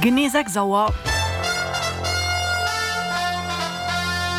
Genee 6 Auer.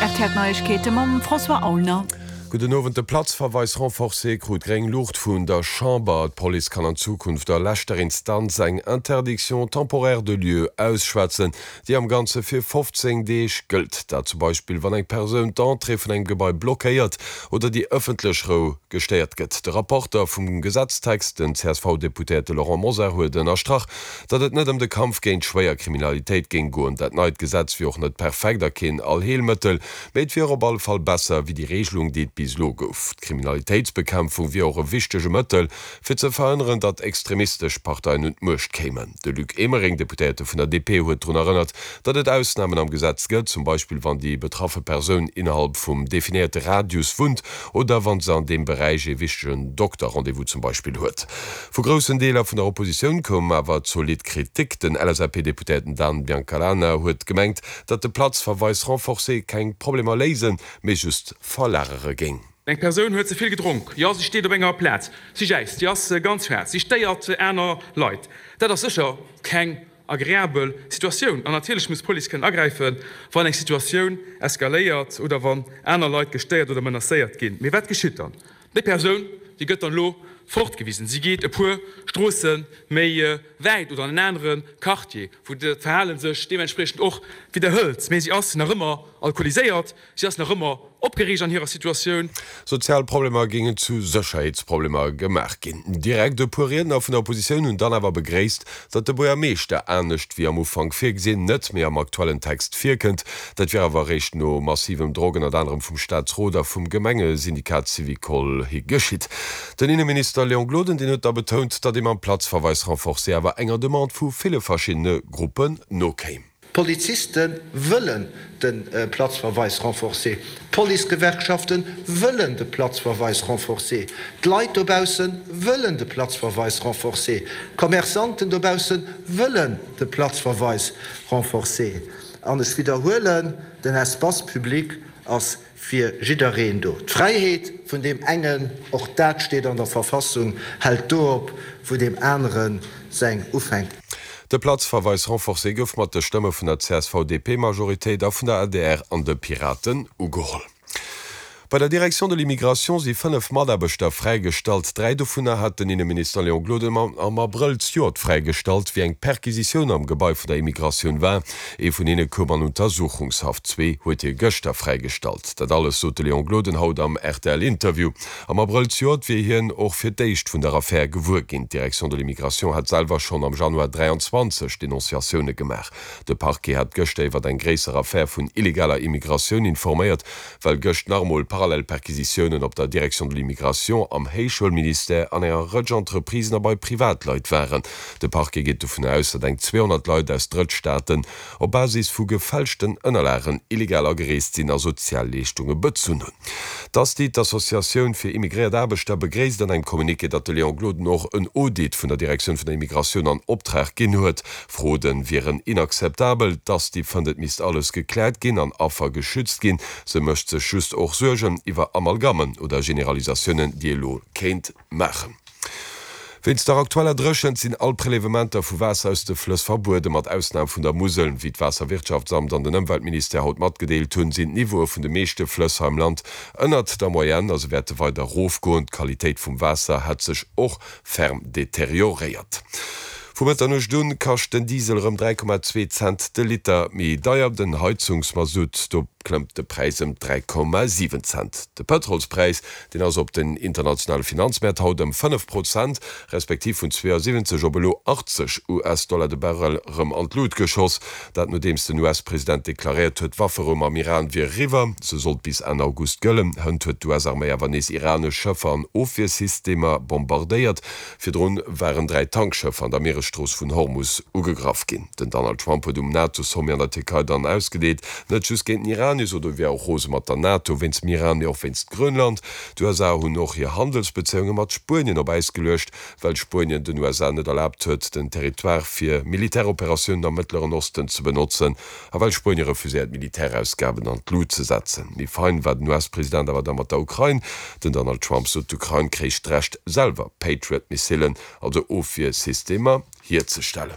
Rtl Neiegkeete mam François Aulner. Gudden Owend. De Platzverweis renforcé krut gréng Luucht vun der Chamber. D'Police kann an Zukunft a leschter Instanz eng Interdiction temporaire de lieu ausschwätzen, déi am Ganze fir 15 Deeg gëllt. Dat zum Beispill, wann eng Persoun d'Entrée vun engem Gebai blockéiert oder déi ëffentlech Rou gestéiert gëtt. De Rapporter vum Gesetztext, den CSV-Deputéierte Laurent Mosar, huet ënnerstrach, datt et net ëm de Kampf géint schwéier Kriminalitéit géing goen. Dat neit Gesetz wier och net perfekt a keen Allheelmëttel, mee et wier op alle Fall besser wéi déi Regelung, déi et bis elo gouf. D'Kriminalitéitsbekämpfung wier och e wichtege Mëttel, fir ze verhënneren, datt extremistesch Parteien un d'Muecht kéimen. De Luc Emering, Deputéierte vun der DP, huet drun erënnert, datt et Ausnamen am Gesetz gëtt, zum Beispill wann déi betraffe Persoun innerhalb vum definéierte Radius wunnt oder wann se an deem Beräich ee wichtegen Dokter-Rendez-vous zum Beispill huet. Vu groussen Deeler vun der Oppositioun koum awer zolidd Kritik. Den LSAP-Deputéierten Dan Biancalana huet gemengt, datt de Platzverweis renforcé keng Problemer léisen, mee just verlagere géing. Eng Persoun huet ze vill gedronk, jo, si steet op enger Plaz, si jäizt, si ass ganz schwaarz, si stéiert aner Leit. Dat ass sécher keng agreabel Situatioun an natierlech muss d'Police kënnen agräifen, wann eng Situatioun eskaléiert oder wann aner Leit gestéiert oder menacéiert ginn. Mee wat geschitt dann? Déi Persoun, déi gëtt dann elo fortgewisen. Si geet e puer Stroosse méi wäit oder an en anere Quartier, wou dat Verhale sech deementspriechend och widderhëlt. Mee si ass nach ëmmer alkoholiséiert, si ass nach ëmmer opgereegt an hirer Situatioun. Sozial Problemer géingen zu Sécherheetsproblemer gemaach ginn. Direkt e puer Riedner vun der Oppositioun hunn dann awer begréisst, datt de Buergermeeschter, anescht wéi am Ufank virgesinn, net méi am aktuellen Text virkënnt. Dat wier awer eréischt no massivem Drock ënnert anerem vum Staatsrot a vum Gemengesyndikat Syvicol hi geschitt. Den Inneminister Léon Gloden, deen huet da betount, datt ee mam Platzverweis renforcé awer enger Demande vu ville verschiddene Gruppen nokéim. D'Poliziste wëllen de Platzverweis renforcé, d'Policegewerkschafte wëllen de Platzverweis renforcé, d'Leit dobausse wëllen de Platzverweis renforcé, d'Commerçanten dobausse wëllen de Platzverweis renforcé. An ech widderhuelen, Den Espace public ass Fir jiddereen do. D'Fräiheet vun deem engen, och dat steet an der Verfassung, hält do op, wou deem anere seng ufänkt. De Platzverweis renforcé gouf mat de Stëmme vun der CSV-DP-Majoritéit a vun der adr an de Piraten ugeholl. Bei der Direction de l'immigration si 5 Mataarbechter fräigestallt. 3 dovunner hat den Inneminister Léon Gloden am Abrëll zejoert fräigestallt, wéi eng Perquisitioun am Gebai vun der Immigratioun war. Ee vun hinne koum an Untersuchungshaft, zwee huet hie gëschter fräigestallt. Dat alles sot de Léon Gloden haut am RTL-Interview. Am Abrëll zejoert wier hien och fir d'éischt vun der Affär gewuer ginn. D'Direction de l'immigration hat selwer schonn am Januar 23 Denonciatioune gemaach. De Parquet hat gëschter iwwer eng gréisser Affär vun illegaler Immigratioun informéiert, well gëscht nach emol parallel Perquisitiounen op der Direction de l'immigration, am Héichschoulministère, an enger Rëtsch Entreprisen a bei Privatleit waren. De Parquet geet dovun aus, datt eng 200 Leit aus Drëttstaaten op Basis vu gefälschten Ënnerlagen illegal agereest sinn a Sozialleeschtunge bezunn hunn. D'Asti, d'Associatioun fir immigréiert Aarbechter, begréisst an engem Communiqué, datt de Léon Gloden och en Audit vun der Direktioun vun der Immigratioun an Optrag ginn huet. Fraude wieren inakzeptabel. D'Asti fënnt, et misst alles gekläert ginn an Affer geschützt ginn. Se mécht sech just och Suergen iwwer Amalgammen oder Generalisatiounen, déi ee lo kéint maachen. Wéinst der aktueller Dréchent sinn all Prelevementer vu Waasser aus de Flëss verbueden, mat Ausnam vun der Musel. Wéi d'Waasserwirtschaftsamt an den Ëmweltministère haut matgedeelt hunn, sinn d'Niveaue vun de meeschte Flëss hei am Land ënnert der Moyenne a se wäerte weider erofgoen. D'Qualitéit vum Waasser hätt sech och ferm deterioréiert. Vu Mëtternuecht un kascht den Diesel erëm 3,2 Cent de Liter méi deier, den Heizungsmasutt, do klëmmt de Präis ëm 3,7 Cent. De Pëtrolspräis, deen ass op den internationale Finanzmäert haut ëm 5 Prozent, respektiv vun 72 op elo 80 US-Dollar de Barrel erëm an d'Lut geschoss. Dat nodeems den US-President deklaréiert huet, d'Wafferou mam Iran wier eriwwer. Se sollt bis Enn August gëllen. Hënt huet d'US-Arméi awer nees iranesch Schëffer an Ofwiersystemer bombardéiert. Virdrun waren 3 Tankschëffer an der Mieresstrooss vun Hormus ugegraff ginn. Den Donald Trump huet um NATO-Sommet an der Tierkei dann ausgedeet, net just géint den Iran, hie sot, e wier och rose mat der NATO wéinst dem Iran, mee och wéinst Grönland. D'USA hunn och hir Handelsbezéiunge mat Spuenien op Äis geluecht, well Spuenien den USA net erlaabt huet, den Territoire fir Militäroperatiounen am Mëttleren Osten ze benotzen a well Spuenie refuséiert, Militärausgaben an d'Lut ze setzen. Méi fein war den US-President awer da mat der Ukrain. Den Donald Trump sot, d'Ukrain kréich d'Recht, selwer Patriot-Missilen, also Ofwiersystemer, hierzestellen.